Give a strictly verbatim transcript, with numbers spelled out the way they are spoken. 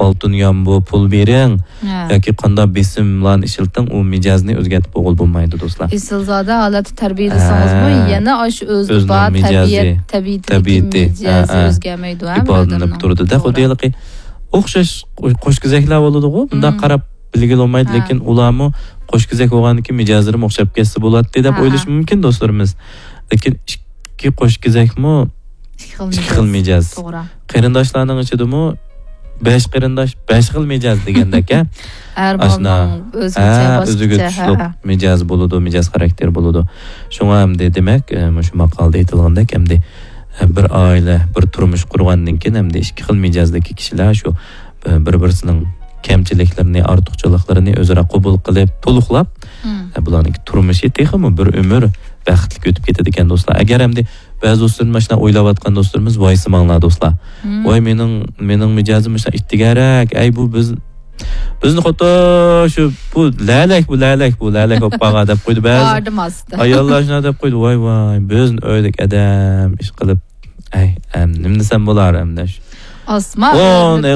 ئالتۇن يامبۇ، پۇل بېرىڭ ھە. ياكى قانداق بېسىملارنى ئىشلىتىڭ، ئۇ مىجەزنى ئۆزگەرتىپ بولغىلى بولمايدۇ، دوستلار. ئېسىلزادە ھالەتتە تەربىيەلىسىڭىزمۇ، ھە. يەنە ئاشۇ ئۆزىدە ئۆزىنىڭ بار مىجەزى، تەبىئەت، تەبىئىتى، تەبىئىتى، مىجەزى ھە، ھە. ئۆزگەرمەيدۇ، ھە، ئىپادىلىنىپ بىر ئادەمنىڭ. تۇرىدۇ. دەل توغرا. خۇددى ھېلىقى ئوخشاش قوش-، قوشكېزەكلەر بولىدىغۇ، بۇنداق مم. قاراپ بىلگىلى بولمايدۇ، ھە. لېكىن ئۇلارمۇ قوشكېزەك بولغاندىكىن مىجەزلىرىمۇ ئوخشاپ كەتسە بولاتتى دەپ ھە، ھە. ئويلىشى مۇمكىن، دوستلىرىمىز. لېكىن ئىككى قوشكېزەكمۇ ئىككى خىل ئىككى خىل مىجەز. مىجەز. توغرا. قېرىنداشلارنىڭ ئىچىدىمۇ بەش قېرىنداش، بەش خىل مىجەز دېگەندەك، ھە؟ ھەر ئاشۇنداق. بالىنىڭ ئۆزگىچە، ھە، باشقىچە، ئۆزىگە ھە، تۇشلۇق ھە. مىجەز بولىدۇ، مىجەز خاراكتېر بولىدۇ. شۇڭا ئەمدى دېمەك، ئە، مۇشۇ ماقالىدا ئېيتىلغاندەك، ئەمدى، ئە، بىر ئائىلە، بىر تۇرمۇش قۇرغاندىن كېيىن، ئەمدى ئىككى خىل مىجەزدىكى كىشىلەر شۇ، ئە، بىر-بىرسىنىڭ كەمچىلىكلىرىنى، ئارتۇقچىلىقلىرىنى ئۆزئارا قوبۇل قىلىپ، تولۇقلاپ، مم. ئە، بۇلارنىڭ تۇرمۇشى تېخىمۇ بىر ئۆمۈر بەختلىك ئۆتۈپ كېتىدىكەن، دوستلار. ئەگەر ئەمدى بەزى دوستلىرىم ماشۇنداق ئويلاۋاتقان دوستلىرىمىز، ۋايسىماڭلار، دوستلار. مم. ۋاي، مېنىڭ، مېنىڭ مىجەزىم مۇشۇنداق ئىتتىكەنرەك، ئەي، بۇ بىز، بىزنى خۇددى شۇ، بۇ لەلەك، بۇ لەلەك، بۇ لەلەك بولۇپ قالغان دەپ قويدى بەزى. باردىم ئاستا. ئاياللار شۇنداق دەپ قويدى، ۋاي، ۋاي، بىزنى ئۆيدىكى ئادەم ئىش قىلىپ، ئەي، ئەم، نېمە دېسەم بولار ئەمدى شۇ. ئاسما ئون ئۆيدە